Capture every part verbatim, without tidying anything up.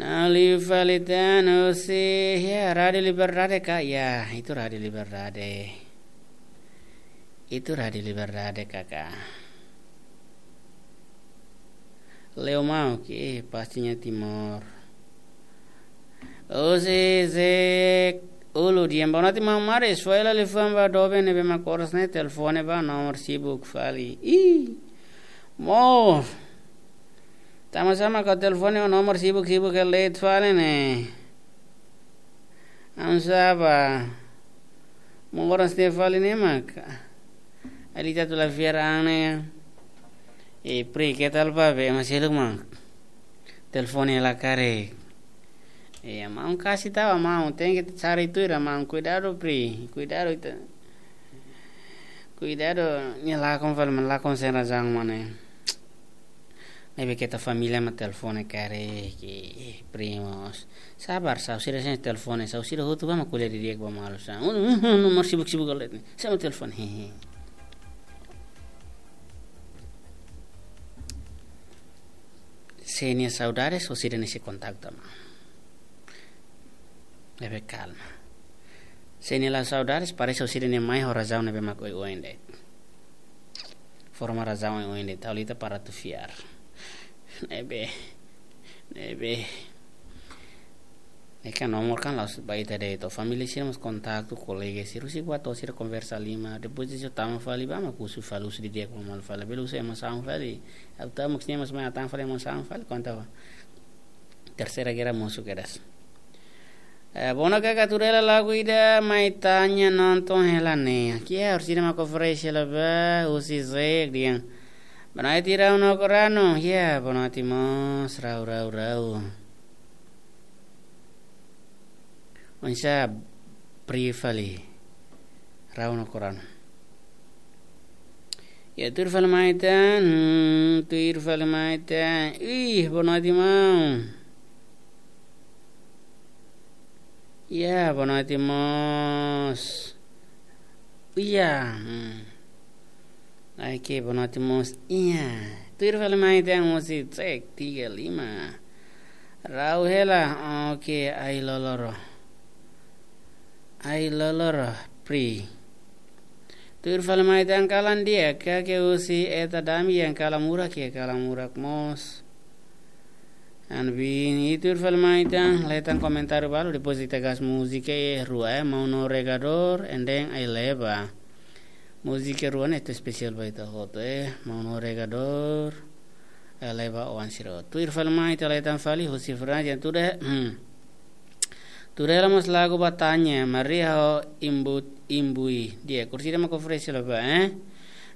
Ha'u liu fali tan husi, ya, Rádio Liberdade ka? Ya, itu Rádio Liberdade. Itu Rádio Liberdade, kakak. Leo mau ke, pastinya Timor. Husi Zek Ulu, di'ak, boa noite maun Maris, fó hela liafuan ba doben ne'ebé mak oras ne'e telefone ba, nomor sibuk fali. Ih, mo. Tanba sá mak telefone ho nomor sibuk-sibuk ke leet fali ne'e. Oinsá ba. Moras ne'e fali ne'e mak. Ali tatu la fiar ane. E pri, ke tal ba be, ema seluk mak. Telefone la karik. E, maun kasi tau, maun tenke cari tuir, maun kuidadu pri. Kuidadu ita. Kuidadu, nia lakon fali, maun lakon sem razaun, mane. Ne'ebé keta família mak telefone karik, primos. Sabar, sá, sira sem telefone, sá, sira hotu ba mak ko'alia didi'ak ba malu sá. Un, un, un, nomor sibuk-sibuk ko'alia. Sem telefone, hehe. Se nia saudades, o sira ne'e sei kontaktu, maun. Ne'ebé kalma. Se nia la saudades, parese o sira ne'e mai ho razaun ne'ebé mak oioin de'it. Forma razaun oioin de'it, ha'u la iha para atu fiar. Ne'ebé, ne'ebé. Ne'e kan nomor kan la'ós ba ita de'it, família sira mós kontaktu, kolega sira, husi buat sira konversa lima, depois de tama fali ba mak husu fali, husu didi'ak ba malu fali, bele husu emosaun fali. Ha'u tama mak sini mas mai atan fali emosaun fali, konta ba. Terseira gera mosu kedas. Eh, boa noite, kakak, tuir hela lagu ida, Mai Tanya, nonton hela ne'e. Ki'ik, orsida mak oferese hela ba, husi Zek, di'ak. Boa noite, Rau no Korano. Ya, boa noite mós, Rau, Rau, Rau. Oinsá, pri fali. Rau no Korano. Ya, tuir fali mai tan, hmm, tuir fali mai tan. Ih, boa noite, maun. Ya, boa noite mós. Iya, hmm. Ai ke, boa noite mós. Iya. Tuir fali mai tan husi Zek tiga lima. Rau hela, oke, ai loloro. Ai loloro, pri. Tuir fali mai tan kalan di'ak, ka ke husi eta dami yang kalan murak ya, kalan murak mós. An bin, i tuir fali mai tan, leten komentáriu balu, depois ita gas múzika rua, eh, Maun Regador, and then Ai Leba. Múzika rua ne'e atu espesiál ba ita hotu, eh, Maun Regador, Ai Leba, oan sira. Tuir fali mai, ita leten fali, husi Fransa, yang tuda, hmm. Tuir hela mós lagu Mai Tanya, Maria ho Imbu, Imbui. Di'ak, orsida mak oferese hela ba, eh?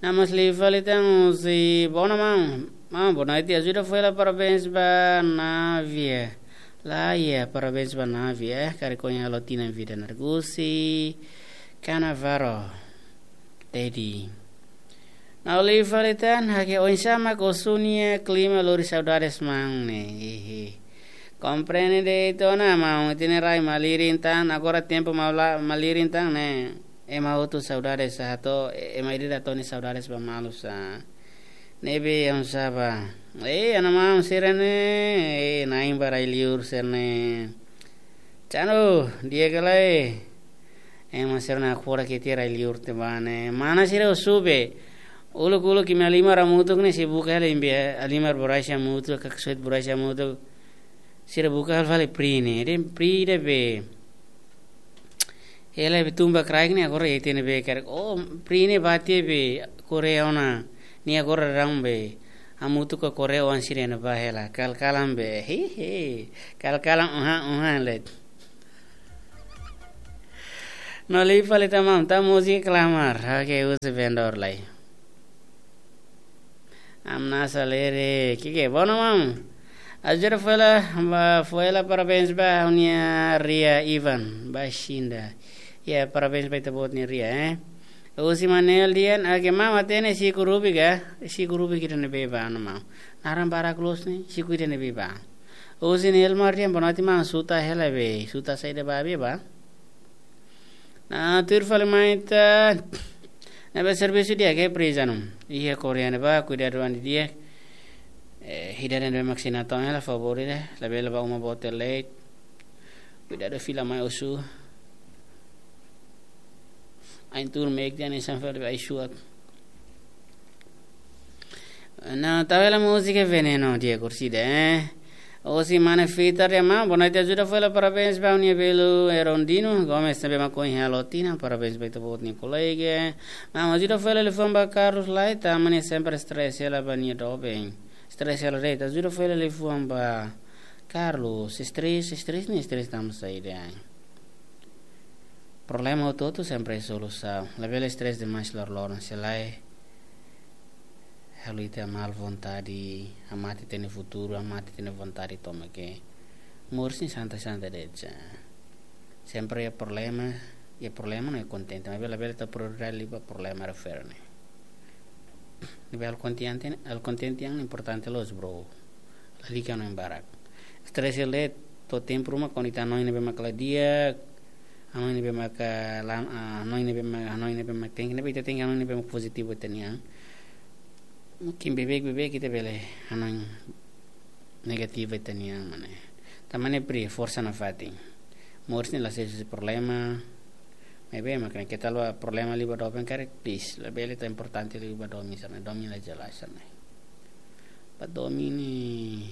Nah, mós liu fali tan husi, boa noite, maun. Maun, boa noite, ajuda fó hela parabéns ba Navia. Lae, parabéns ba Navia, eh? Karik ohin halo tinan vida Nargusi. Kanavaro. Teddy. Nah, liu fali tan, ha'u ke oinsá mak osu nia klima lori saudades maun ne'e. Hehe. Komprende de'it ona maun, ita-nia rai malirin tan, agora tempu mala-, malirin tan ne'e. Ema hotu saudades sá, atu, ema ida-idak atu nia saudades ba malu sá. Ne'ebé oinsá ba. Eh, ana maun sira ne'e, eh, na'in ba rai-liur sira ne'e. Cano, di'ak ka lae. Ema sira-nia agora ke tiha rai-liur tiha ba ne'e. Mana sira husu be. Uluk-uluk imi halimar hamutuk ne'e sei buka hela imi be halimar borraxi hamutuk, kaksoit borraxi hamutuk. Sira buka hela fali pri ne'e. Dehan pri ida be. Hela be tun ba kraik ne'e agora iha tiha ne'ebé karik. Oh, pri ne'e bá tiha be Korea ona. Nia agora rame be. Hamutuk ho Korea oan sira ne'ebá hela. Kal-kalan be. Hehe. Kal-kalan, uha, uha, let. No liu fali tan maun, tan múzika klamar. Oke, husi vendedór lai. Amnasa lere, ki'ik, boa noite maun. Ajuda fó hela, ba, fó hela parabéns ba ha'u-nia Ria Ivan, ba Xinda. Ya, parabéns ba ita-boot nia Ria, eh. Husi Manel dehan, oke, maun hatene siku rubik ka? Siku rubik ida ne'ebé ba, no maun. Naran barak loos ne'e, siku ida ne'ebé ba. Husi Nelmar dehan, boa noite maun, suta hela be, suta saida ba be ba. Nah, tuir fali mai tan. Ne'ebé servisu di'ak ke pri, Zanu? Iha Korea ne'ebá, kuidadu an di'ak. Eh, ida-ne'e mak sina to'o hela favór ida, labele bá uma boot de'it. Kuidadu fila mai husu. Ain tuur meik tiha hanesan fali ai-suak. Não, tau hela múzika Veneno, di'ak, kursida, eh. Hosi mane Fitar ya, maun, boa noite, ajuda fali, parabéns ba nia belu, Erondino Gomes, ne'ebé mak ohin halo tinan, parabéns ba ita-boot nia kolega. Maun, ajuda fali liafuan ba Carlos Laita, mane sempre stress hela ba nia doben. Stress hela de'it, ajuda fali liafuan ba Carlos, stress, stress ne'e stress tanba saida. Problema hotu-hotu sempre solusaun. Labele stress demais loroloron, se lae halo ita mal vontade, hamate ita-nia futuru, hamate ita-nia vontade tomak. Moris ne'e santai-santai de'it. Sempre iha problema, iha problema no iha kontente. Maibé labele tau prioridade liu ba problema refere ne'e. Ne'ebé halo kontente, halo kontente yang importante loos, bro. Lalika hanoin barak. Stress hela de'it, to'o tempu ruma kuandu ita hanoin ne'ebé mak la di'ak, hanoin ne'ebé mak, ah, lan, ah, hanoin ne'ebé mak, hanoin ne'ebé mak tenke, ne'ebé ita tenke hanoin ne'ebé mak pozitivu ita-nia an. Mungkin beibeik, beibeik ita bele hanoin negativu ita-nia an, mane. Tanba ne'e pria, forsa nafatin. Moris ne'e la sei husi problema. Maibé mak ne'e, keta halo problema liu ba doben karik, please. Labele tau importante liu ba domin sira-ne'e, domin la jelas sira-ne'e. Ba domin ne'e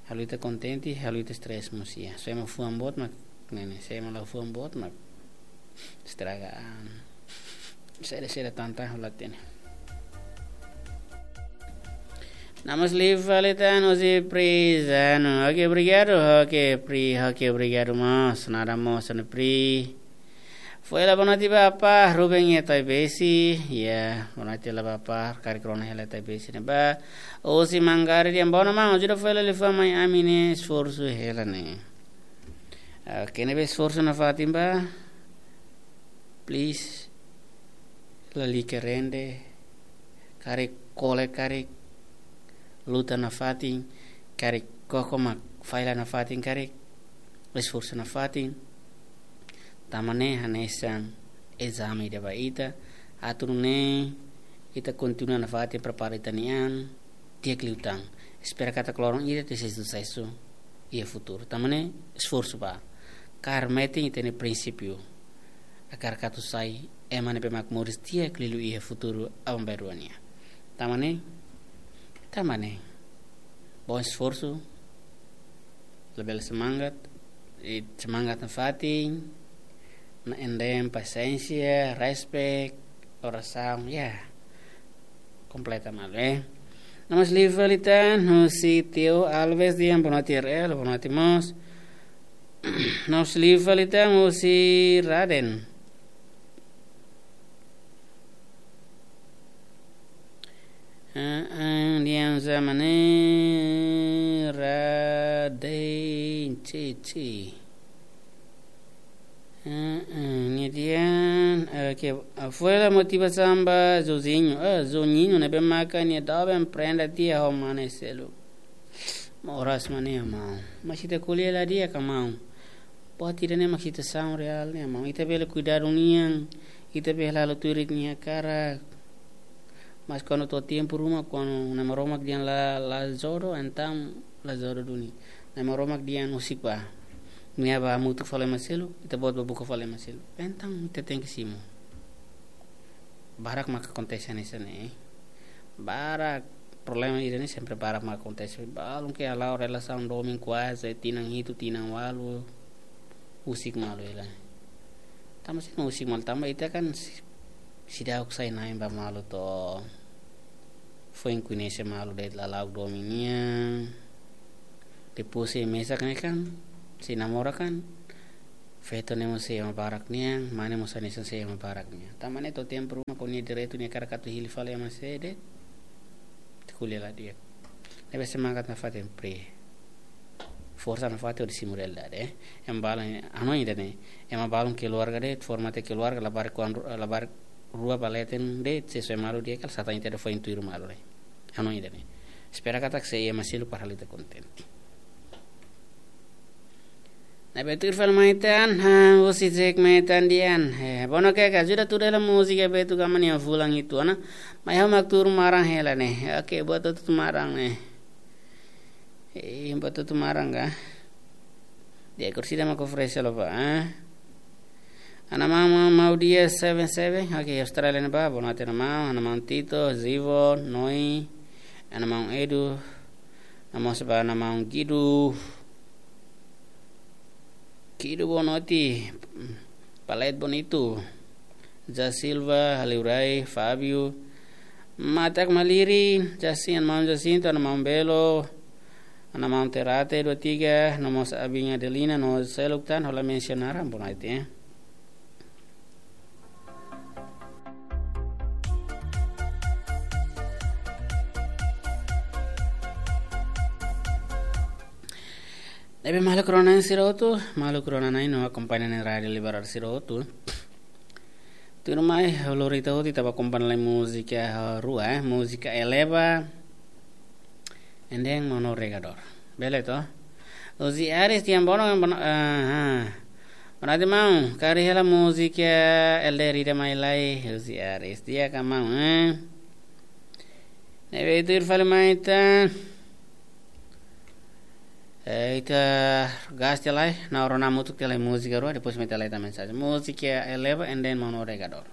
halo ita kontente, halo ita stress mós iha. Se ema fuan boot mak, ne'e ne'e, se ema la fuan boot mak estraga an. Saida-saida tanta hola tene. Namas live fali tan husi Pri Zano. Oke, obrigadu. Oke, Pri, oke, obrigadu mós. Nada mós, anu Pri. Foin hela boa noite ba apá Ruben iha Taibesi. Ya, boa noite hela ba apá, karik rona hela Taibesi ne'ebá. Hosi Mangari dehan, boa noite maun, ajuda foin hela liafuan mai ami-nia esforsu hela ne'e. Oke, ne'ebé esforsu nafatin bá. Please. Lalika rende. Karik kole, karik luta nafatin, karik koko mak falla nafatin, karik esforsu nafatin. Tanba ne'e hanesan ezame ida ba ita, atu nune'e ita kontinua nafatin prepara ita-nia an, di'ak liután. Espera katak loron ida ita sei susesu iha futuru. Tanba ne'e esforsu bá. Kaer metin ita-nia prinsípiu. Hakarak atu sai ema ne'ebé mak moris di'ak liu iha futuru aban-bainrua nian. Tanba ne'e, tanba ne'e. Bom esforsu, labele semangat, i semangat nafatin, no ende pasiénsia, respect, orasaun, ya. Kompleta malu, eh. Namas live fali tan husi Teo Alves dehan, boa noite R L, boa noite mós. Namas live fali tan husi Raden. Ah, ah, dehan hanesan ne'e Raden Cici. Ah, ah, nia dehan, ah, ke, ah, foin hela motivasaun ba Joãozinho. Ah, Joãozinho ne'ebé maka nia doben prenda tiha ho mane seluk. Moras mane, maun. Mas ita ko'alia la di'ak, maun. Buat ida-ne'e mak situasaun reál ne'e, maun. Ita bele kuidadu nian, ita bele halo tuir ita-nia hakarak. Mas kuandu to'o tempu ruma, kuandu Nai Maromak dehan la, la jodoh, entaun la jodoh duni. Nai Maromak dehan husik bá. Nia bá hamutuk fali ema seluk, ita-boot bá buka fali ema seluk. Entaun ita tenke simu. Barak maka akontese hanesan ne'e. Barak problema ida-ne'e sempre barak maka akontese. Balun ke hala'o relasaun domin kuaze tinan hitu, tinan ualu. Husik malu hela. Tanba saida husik malu, tanba ita kan si-, seidauk sai na'in ba malu to'o. Foin koñese malu de'it lala'ok domin nian. Depois sei mesak ne'e kan, sei namora kan. Feto ne'e mós sei ema barak nian, mane mós hanesan sei ema barak nian. Tanba ne'e to'o tempu ruma kuandu nia direitu nia hakarak atu hili fali ema seluk de'it. Ita ko'alia la di'ak. Ne'ebé semangat nafatin, Pri. Forsa nafatin hodi simu realidade, eh. Ema balun, hanoin ida-ne'e. Ema balun keluarga de'it, forma tiha keluarga, labarik kuan ru-, labarik rua ba leten de'it, sei soe malu di'ak, kala satan ita de'it foin tuir malu ne'e. Hanoin ida-ne'e. Espera katak sei iha ema seluk para halo ita kontente. Ne'ebé tuir fali mai tan, ha, husi Jack mai tan dian. Eh, bono ke ka ajuda tuur hela múzika Beto Gama nia fulan hitu ona. Mai ha'u mak tuur maran hela ne'e. Oke, buat hotu tuur maran ne'e. Eh, buat hotu tuur maran ka? Dia kursi dia mak oferese lo pa, eh. Ana maun, maun, maun dia seven seven. Oke, Australia ne'ebá, boa noite ana maun, ana maun Tito, Zivo, Noi, ana maun Edu, ana maun seba, ana maun Gidu. Kido boa noite. Palete Bonito. Ja Silva, Haliurai, Fábio. Matak Maliri, Jacinto, ana maun Jacinto, ana maun Belo, ana maun Terate, dua tiga, no mós abin Adelina, no seluk tan, hola mensionar, boa noite, eh. Ne'ebé maluk rona-na'in sira hotu, maluk rona-na'in no akompaña ne'e Rádio Liberal sira hotu. Tuirmai, ha'u lori ita hotu, ita bá akompaña lai múzika rua, eh, múzika Eleva, and then Maun Navegadór. Bele to? Uzi Aris, tiang bono, bono, ah, ah. Bono ati mau, kari hela múzika L D Rida mai lai, Uzi Aris. Dia ka mau, eh? Ne'ebé tuir fali mai ita. Eh, ita gas tiha lai, na ora na mutuk tiha lai múzika rua, depois mai tiha lai ita mensajen. Múzika Eleva and then Maun Navegadór.